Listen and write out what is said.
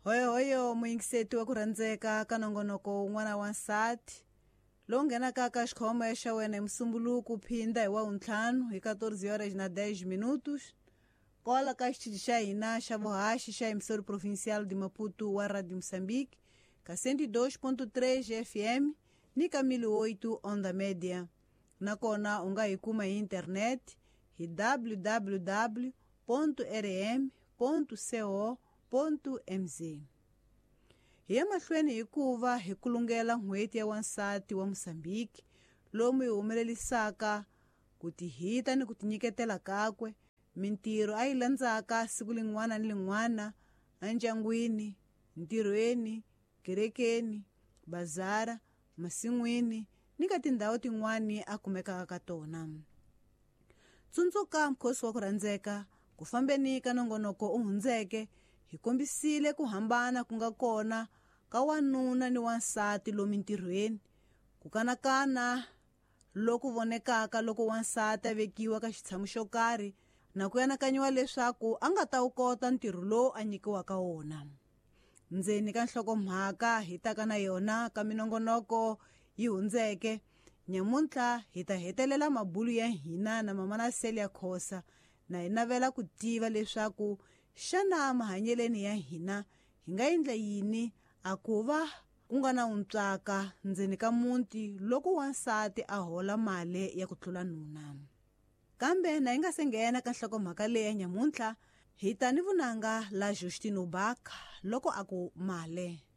Hoyohoyo muyingiseti wa ku rhandzeka ka nongonoko wun'wana wa nsati lowu nghenaka ka xikhomo xa wena hi musumbuluku phinda hi wa wuntlhanu hi 14 horas na 10 minutos kwala ka xitichi xa hina xa vuhaxi xa emissora provincial de Maputo wa Radio Moçambique ka 102.3 FM ni ka 1008 onda média. Nakona u nga hi kuma hi internet hi www.rm.co.mz. Hi ya mahlweni hikuva hi kulungela n'hweti ya wansati wa Mozambique lomu hi humelelisaka ku tihita ni ku tinyiketela kakwe mintirho a yi landzaka siku lin'wana ni lin'wana endyangwini, ntirhweni, kerekeni, bazara, masin'wini ni ka tindhawu tin'wani a kumekaka ka tona. Tsundzuka mukhosi wa ku rhandzeka ku fambeni ka nongonoko u hundzeke hi kombisile ku hambana ku nga kona ka wanuna ni wansati lomu ntirhweni, ku kanakana loku vonekaka loko wansati a vekiwa ka xitshamo xo karhi na ku anakanyiwa leswaku a nga ta wu kota ntirho lowu a nyikiwaka wona. Ndzeni ka nhlokomhaka hi taka na yona ka minongonoko yi hundzeke, nyamuntlha hi ta hetelela mabulu ya hina na Mamana Celia Khosa na hi navela ku tiva leswaku xana mahanyeleni ya hina hi nga endla yini a ku va ku nga na untswaka ndzeni ka muti loko wansati a hola mali ya ku tlula nuna. Kambe na hi nga se nghena ka nhlokomhaka leyi ya nyamuntlha hi ta ni vunanga la Justino Baka loko a ku male.